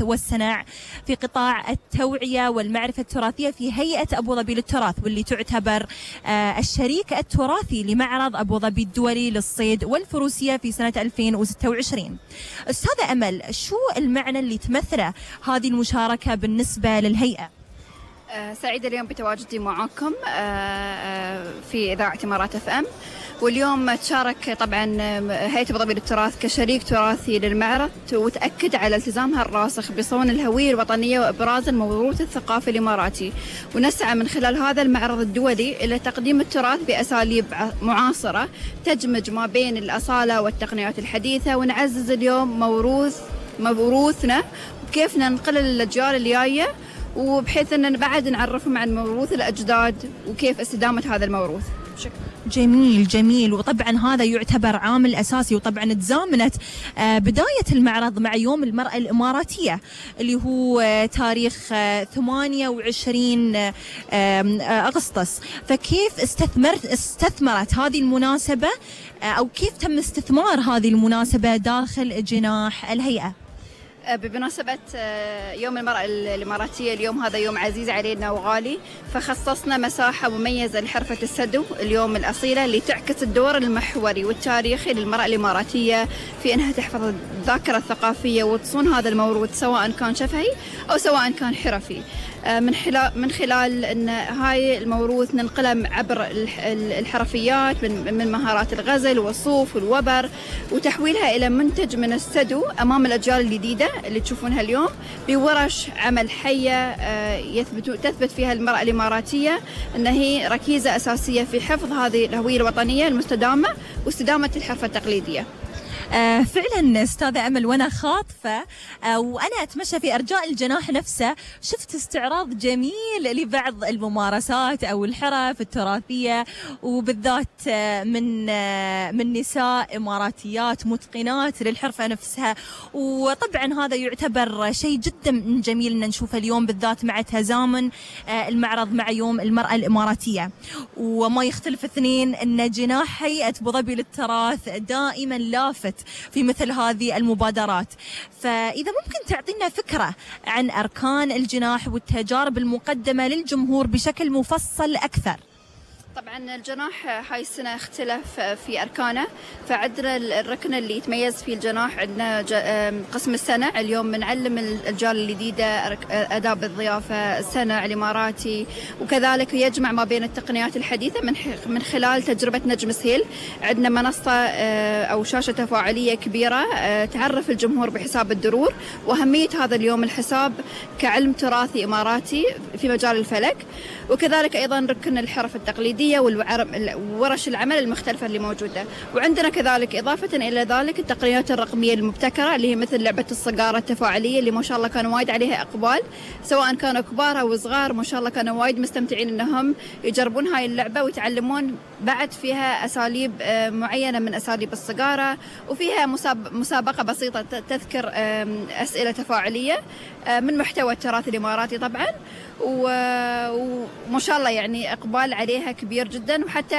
والصناع في قطاع التوعية والمعرفة التراثية في هيئة أبو ظبي للتراث، واللي تعتبر الشريك التراثي لمعرض أبو ظبي الدولي للصيد والفروسية في سنة 2026. أستاذة أمل، شو المعنى اللي تمثله هذه المشاركة بالنسبة للهيئة؟ سعيدة اليوم بتواجدي معاكم في إذاعة إمارات FM، واليوم تشارك طبعا هيئة أبو ظبي للتراث كشريك تراثي للمعرض، وتأكد على التزامها الراسخ بصون الهوية الوطنية وإبراز الموروث الثقافي الإماراتي. ونسعى من خلال هذا المعرض الدولي إلى تقديم التراث بأساليب معاصرة تدمج ما بين الأصالة والتقنيات الحديثة، ونعزز اليوم موروثنا وكيف ننقله للأجيال اللي جاية، وبحيث أن بعد نعرفهم عن موروث الأجداد وكيف استدامة هذا الموروث. شكرا. جميل جميل. وطبعا هذا يعتبر عامل أساسي، وطبعا تزامنت بداية المعرض مع يوم المرأة الإماراتية اللي هو تاريخ 28 أغسطس. فكيف استثمرت هذه المناسبة أو كيف تم استثمار هذه المناسبة داخل جناح الهيئة؟ بمناسبة يوم المرأة الإماراتية، اليوم هذا يوم عزيز علينا وغالي، فخصصنا مساحة مميزة لحرفة السدو اليوم الأصيلة، اللي تعكس الدور المحوري والتاريخي للمرأة الإماراتية في أنها تحفظ الذاكرة الثقافية وتصون هذا الموروث، سواء كان شفهي أو سواء كان حرفي، من خلال أن هاي الموروث ننقله عبر الحرفيات من مهارات الغزل والصوف والوبر، وتحويلها إلى منتج من السدو أمام الأجيال الجديدة اللي تشوفونها اليوم بورش عمل حية تثبت فيها المرأة الإماراتية أن هي ركيزة أساسية في حفظ هذه الهوية الوطنية المستدامة واستدامة الحرفة التقليدية. فعلا أستاذة أمل، وأنا خاطفة وأنا أتمشى في أرجاء الجناح نفسه شفت استعراض جميل لبعض الممارسات أو الحرف التراثية، وبالذات من نساء إماراتيات متقنات للحرفة نفسها. وطبعا هذا يعتبر شيء جدا جميل أن نشوفه اليوم، بالذات مع تزامن المعرض مع يوم المرأة الإماراتية. وما يختلف اثنين أن جناح هيئة أبو ظبي للتراث دائما لافت في مثل هذه المبادرات. فإذا ممكن تعطينا فكرة عن أركان الجناح والتجارب المقدمة للجمهور بشكل مفصل أكثر. طبعا الجناح هاي السنة اختلف في أركانه، فعندنا الركن اللي يتميز فيه الجناح، عندنا قسم السنع. اليوم بنعلم الأجيال الجديدة آداب الضيافة، السنع الإماراتي، وكذلك يجمع ما بين التقنيات الحديثة من خلال تجربة نجم سهيل. عندنا منصة أو شاشة تفاعلية كبيرة تعرف الجمهور بحساب الدرور وأهمية هذا اليوم الحساب كعلم تراثي إماراتي في مجال الفلك، وكذلك أيضا ركن الحرف التقليدية وورش العمل المختلفة اللي موجودة. وعندنا كذلك إضافة إلى ذلك التقنيات الرقمية المبتكرة اللي هي مثل لعبة الصقارة التفاعلية اللي ما شاء الله كانوا وايد عليها إقبال، سواء كانوا كبار أو صغار، ما شاء الله كانوا وايد مستمتعين إنهم يجربون هاي اللعبة ويتعلمون بعد فيها أساليب معينة من أساليب الصقارة، وفيها مسابقة بسيطة تذكر أسئلة تفاعلية من محتوى التراث الإماراتي طبعا، وما شاء الله يعني إقبال عليها كبير جدا. وحتى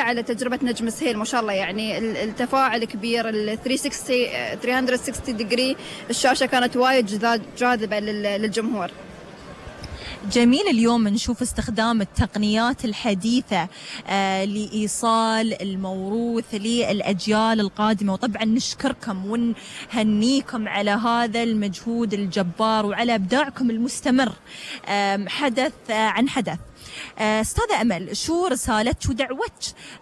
على تجربة نجم سهيل ما شاء الله يعني التفاعل كبير، ال 360 ديجري الشاشة كانت وايد جاذبة للجمهور. جميل اليوم نشوف استخدام التقنيات الحديثة لإيصال الموروث للأجيال القادمة، وطبعا نشكركم ونهنيكم على هذا المجهود الجبار وعلى إبداعكم المستمر حدث عن حدث. أستاذة أمل، شو رسالتك ودعوتك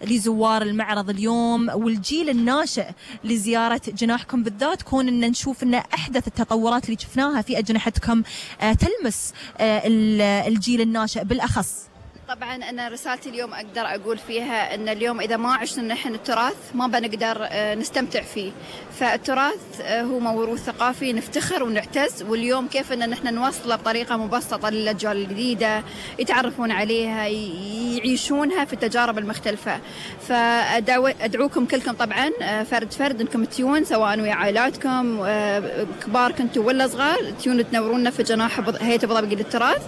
لزوار المعرض اليوم والجيل الناشئ لزيارة جناحكم بالذات، كون أن نشوف أن أحدث التطورات اللي شفناها في أجنحتكم تلمس الجيل الناشئ بالأخص؟ طبعا أنا رسالتي اليوم أقدر أقول فيها أن اليوم إذا ما عشنا نحن التراث ما بنقدر نستمتع فيه. فالتراث هو موروث ثقافي نفتخر ونعتز، واليوم كيف أن نحن نوصله بطريقة مبسطة للأجيال الجديدة يتعرفون عليها يعيشونها في التجارب المختلفة. فأدعوكم كلكم طبعا فرد أنكم تيون، سواء ويا عائلاتكم كبار كنتوا ولا صغار، تيون تنورونا في جناح هيئة أبو ظبي للتراث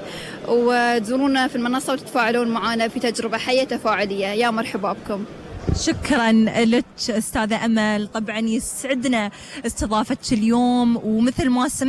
وتزورونا في المنصة وتتفاعلون معنا في تجربة حية تفاعلية. يا مرحبا بكم. شكرا لك أستاذة أمل، طبعا يسعدنا استضافتك اليوم، ومثل ما سمعت